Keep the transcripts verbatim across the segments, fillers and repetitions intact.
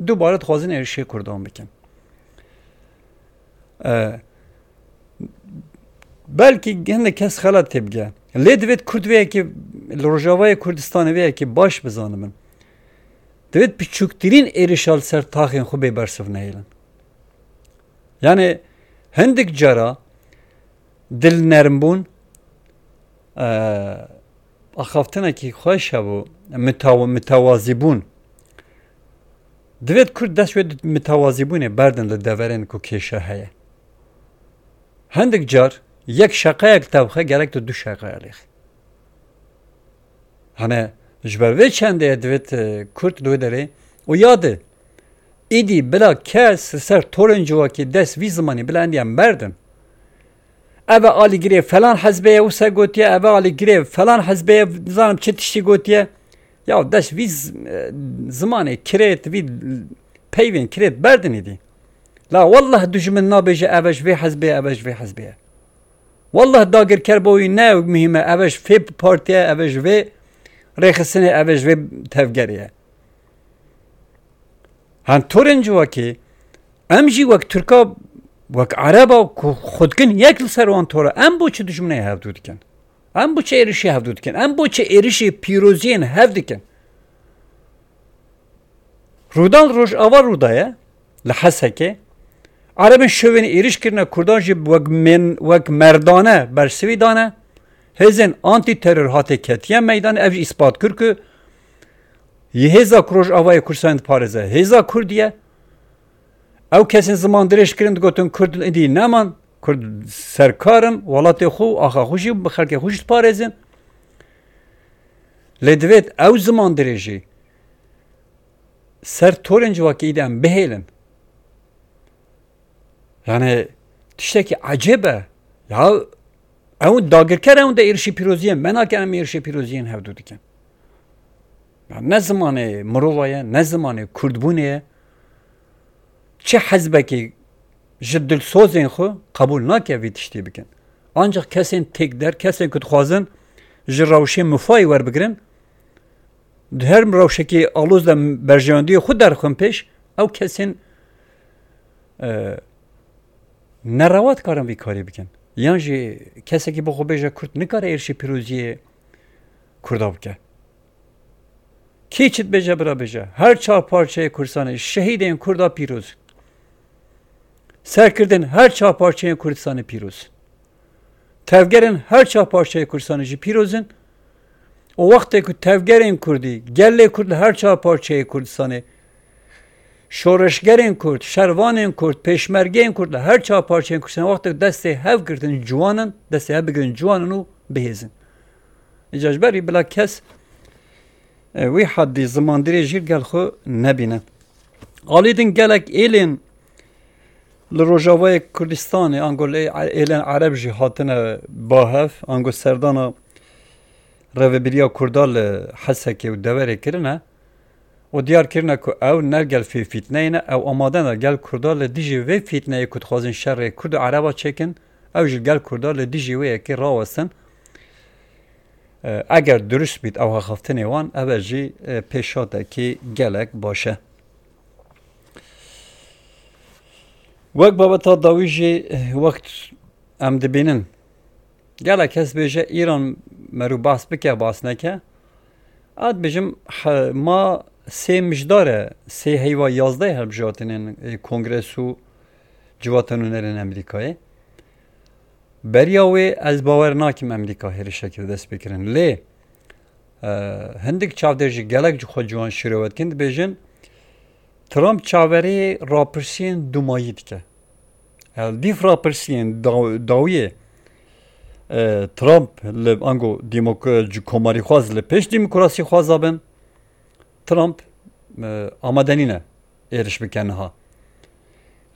Dubare dixwazin êrişê Kurdan bikin. E, belkî hinek kes xelat tê bige. Lê divêt Kurd vê yekê li Rojavayê Kurdistanê vê yekê baş bizanibin. Divêt piçûktirîn êrişa li ser taxên xwe bê bersiv nehêlin. Yani hindik cara dilnermbûn, e, axaftinekî xweş hebû, mitaw-, mitewazîbûn. Divêt Kurd dest wê di mitewazîbûnê berdin li deverên ku kêşe heye. Hindik car yek şeqeyek tevxe gerek tu du şeqeya lêxî. Hane ji ber vê çendê divêt, e, Kurd li wê derê û ya di. Îdî bila kes li ser torên civakî dest vî zimanî bila endiya merdin. Eve alîgirê falan hezbê ye wisa gotiye, eve alîgirê falan hezbê ye nizanim çi tiştî gotiye. Ya dest vî z-, e, zimanê kirêt, vî peyvên kirêt berdin îdî. La wallah dijmin nabêje eve ji vê hezbê ye, eve ji vê hezbê ye. Wallah dagirker bo wî ne muhîm e, eve ji vê partî ye, eve ji vê rêxistinê, eve ji vê tevgerê ye. Hen torên civakê, em jî wek Tirka, wek Ereba ku xwe dikin yek li ser wan tor e, em bo çi dijminê hevdû dikin? Em bo çi êrişê hevdû dikin? Em bo çi êrişê pîroziyên hev dikin? Rûdan Rojava rûdaye li Hesekê. Erebên şovên êriş kirine, Kurdan jî wek men-, wek merdane bersivî dane. Hêzên antîteror hatê ketiye meydan. Ev jî îspat kir ku yê hêza ku Rojavayê Kurdistanê diparêze hêza Kurdî ye. Ew kesên ziman dirêj kirin digotin Kurd êdî neman, Kurd serkar in, welatê xwe û axa xwe jî bi xelkê xwe jî diparêzin. Lê divêt ew ziman dirêjî ser torên civakî de em bihêlin. Yani tiştekî ecêb e. Ya ew dagirker ew de êrişî pîroziyên me nakin, em êrişê pîroziyên hevdû dikin. Ya ne zimanê mirova ye, ne zimanê kurdbûnê ye. Çi hezbekî ji dilsozên xwe qebûl nake vî tiştî bikin. Ancak kesên têkder, kesên ku dixwazin ji rewşê mifayê werbigirin, di her rewşekî aloz de berjewendiyê xwe derxin pêş, ew kesên, e, nerewa dikarin vî karî bikin. Yan jî kesekî bo xwe bêje Kurd nikare êrişî pîroziyê Kurda bike. Kî çi dibêje bira bêje. Her çar parçeyê Kurdistanê şehîdên Kurda pîroz. Serkirdên her çar parçeyên Kurdistanê pîroz. Tevgerên her çar parçeyê Kurdistanê jî pîroz in. Û wextê ku tevgerên Kurdî, gelê Kurd li her çar parçeyê Kurdistanê, şoreşgerên Kurd, şervanên Kurd, pêşmergeyên Kurd li her çar parçeyên Kurdistanê wextê ku destê hev girtin ciwan in, destê hev bigirin ciwan in û bihêzin. Îca ji ber wî bila kes, e, wî heddî zimandirêjî gel xwe nebîne. Alî din gelek êlên li Rojavayê Kurdistanê, ango li êlên Ereb jî hatine ba hev, ango serdana rêvebiriya Kurda li Hesekê û deverê kirine û diyar kirine ku ew ne gel vê fîtneyê ne, ew amade ne gel Kurda li dijî vê fîtneyê ku dixwazin şerê Kurd û Ereba çêkin, ew jî gel Kurda li dijî wê yekê rawestin. E, eger dirust bît ew axaftinê wan, ev e jî, e, pêşhatekî gelek baş e. Wek babeta dawî jî, e, wext em dibînin. Gelek kes bêje Îran merû behs bike, behs neke. Ez dibêjim, he, ma sê mijdar e, sê heyva yazdeh hilbijartinên, e, Kongres û Civata Nûnerên Amerîkayê. Beriya wê ez bawer nakim Amerîka hêrişekê bi dest pê kirin. Lê, e, hindik çavdêr jî gelek ji xwe ciwan şîrove dikin, dibêjin, Trump çaverê rapirsiyên dûmayî dike. Li dîf rapirsiyên daw-, dawiyê, e, Trump li ango demok-, ci-, komarîxwaz li pêş demokrasîxwaza bin, Trump, e, amade nîne êriş bike niha.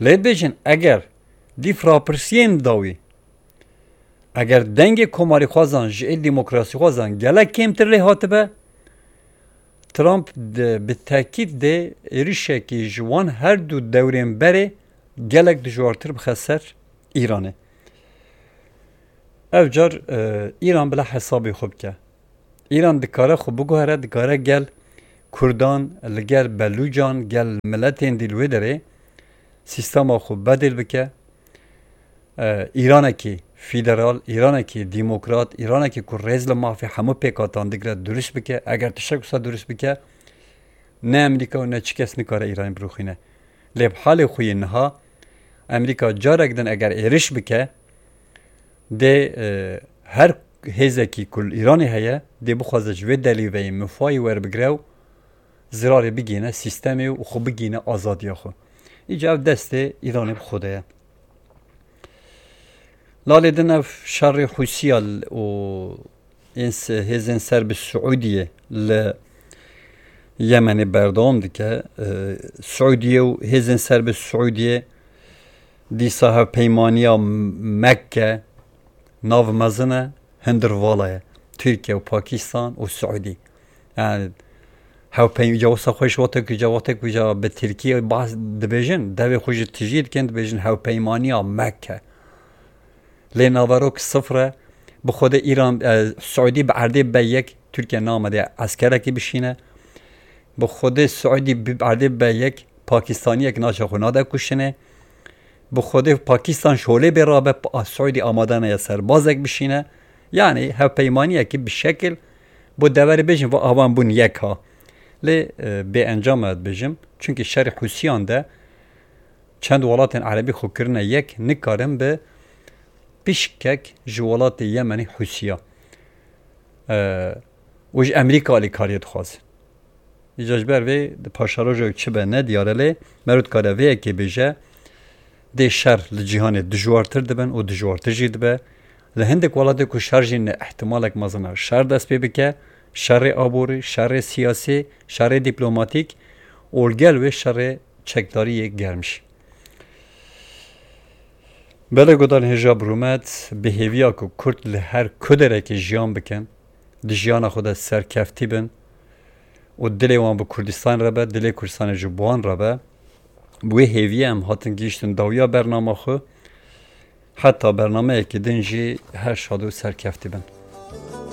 Lê dibêjin, eger dîf rapirsiyên dawî, eger dengê komarîxwazan ji ê demokrasîxwazan gelek kêmtir lê hatibe, Trump di, bi tekîd dê êrişekî ji wan her du dewrên berê gelek dijwartir bixe ser Îranê. Ev car, e, Îran bila hesabê xwe bike. Îran dikare xwe biguhere, dikare gel Kurdan li gel Belûcan, gel miletên dî li wê derê sîstema xwe bedêl bike. E, Îranekî federal, Îranekî demokrat, Îranekî ku rêz li mafê hemû pêkhatan digre durust bike. Eger tiştek wisa durust bike, ne Amerîka û ne çi kes nikare Îranê birûxîne. Lê bi halê xwe yê niha Amerîka carek din eger êriş bike, dê, e, her hêzekî ku li Îranê heye, dê bixwaze ji vê delîveyê mifayî werbigire û zirarê bigîne sîstemê û xwe bigîne azadiya xwe. Îca ev destê Îranê bi xwe de ye. Lalê din ev şerê Hûsiya l-, û ên se-, hêzên ser bi Siûdiyê li Yemenê berdewam dike. E, Siûdiye û hêzên ser bi Siûdiyê dîsa hevpeymaniya Mekke nav mezin e, hindir vala ye. Tirkiye û Pakistan û Siûdî. Yani hevpeyma wisa xwe ji wextek ku ca wextek ku ca bi Tirkiyê bahs dibêjin, devê xwe ji tijî dikin, dibêjin hevpeymaniya Mekke. Lê naverok sifir e. Bi xwedê Îran, e, Siûdî bi erdê be yek, Tirkiye namede eskerekî bişîne. Bi xwedê Siûdî bi erdê be yek, Pakistaniyek naçe xwe nade kuştinê. Bi xwedê Pakistan şolê bê rabe, pa-, Siûdî amade neye serbazek bişîne. Yani hevpeymaniyekî bi şekil bo deverê bêjin, va avan bûn yek ha. Lê, e, bê encam e dibêjim. Çunkî şerê Hûsiyan de çend welatên erebî xwe kirine yek, nikarin bi pişkek ji welatê Yemenî Hûsiya, e, û ji Amerîka alîkariyê dixwazin. Îca ji ber vê di paşeroja çi be ne diyar e, lê meriv dikare vê yekê bêje, dê şer li cîhanê dijwartir dibin û dijwartir jî dibe. Li hindik welatê ku şer jî ne, ihtimalek mezin e şer dest pê bike, şerê aborî, şerê siyasî, şerê dîplomatîk û li gel wê şerê çekdarî yê germ jî. Belê guhdarên hêja bi rûmet, bi hêviya ku Kurd li her ku derekê jiyan bikin, di jiyana xwe de serkeftî bin û dilê wan bi Kurdistan re be, dilê Kurdistanê ji bi wan re be. Bi wê hêviyê em hatin gihîştin dawiya bernama xwe. Heta bernameyekî din jî her şad û serkeftî bin.